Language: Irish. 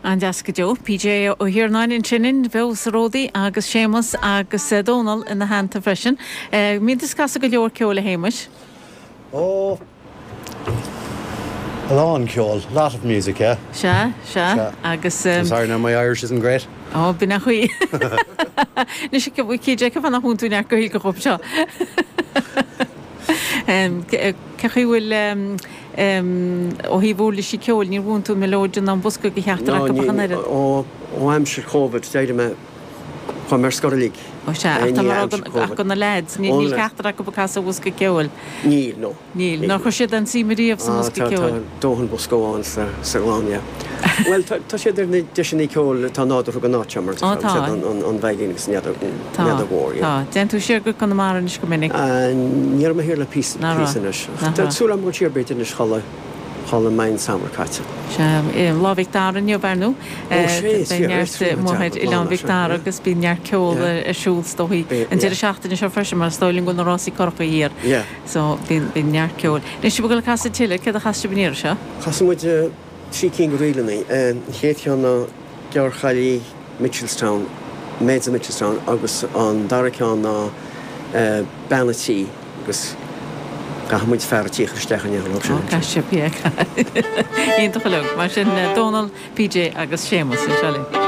An-deas go deo. PJ Ó hIarnáin ansin linn, beo sa Ródaí agus Séamus agus Dónal ina theannta freisin. Mbíonn tusa ag casadh go leor ceoil a Shéamuis? Ó, a lán ceoil, lot of music, yeah. Sea, sea. Agus. Sorry now, my Irish isn't great. Ó, b'in an chaoi. Anois, cé fáth nach múineann tú neart Gaeilge dhom seo? Cé chaoi bhfuil, ó thaobh uirlisí ceoil, níor mhúin tú an mileoidean ná an bosca do cheachtar acu ach an oiread? Ó, ó aimsir Covid, d'éirigh mé, chuaigh mé ar scor uilig. Ó sea, ach tá mé ag rá ach do na leaids, níl ceachtar acu ag casadh bosca ceoil. Níl, no. Níl. Nár chuir siad aon suim ariamh sa mbosca ceoil? Tá dóthain bosca amháin sa gclann, yeah. Bhuel, tá siad ar na deiseanna ceoil atá nádúrtha don áit seo, mar tá an veidhlín agus an fheadóg mhór, yeah. Tá. Téann tú siar go Conamara anois go minic? Ní raibh mé thiar le píosa anois. Tá súil agam dul siar b'fhéidir anois shula mbeidh an samhradh caite. Sea, Lá Mhic Dara inniu, ar ndóigh. Ó, sea, is Beidh neart amuigh ar Oileán Mhic Dara agus bíonn neart ceol ar siúl is dóichí an deireadh seachtaine seo freisin mar is dóigh liom go bhfuil na rásaí currachaí thiar. So, bíonn, bíonn neart ceoil. Anois, sibh ag dul ag casadh tuilleadh, céard a chas sibh an iarraidh seo? Chas muid 3 cinn de ríleanna. An chéad cheann ná Gearrchailí Mitchelstown, Maids of Mitchelstown agus an dara ceann ná Bean a' Tí agus caithfidh muid fear a' tí a chur isteach in aon chor. Ó, caithfidh sibh, yeah. Iontach uilig. Mar sin, Dónal, PJ agus Séamus, anseo linn.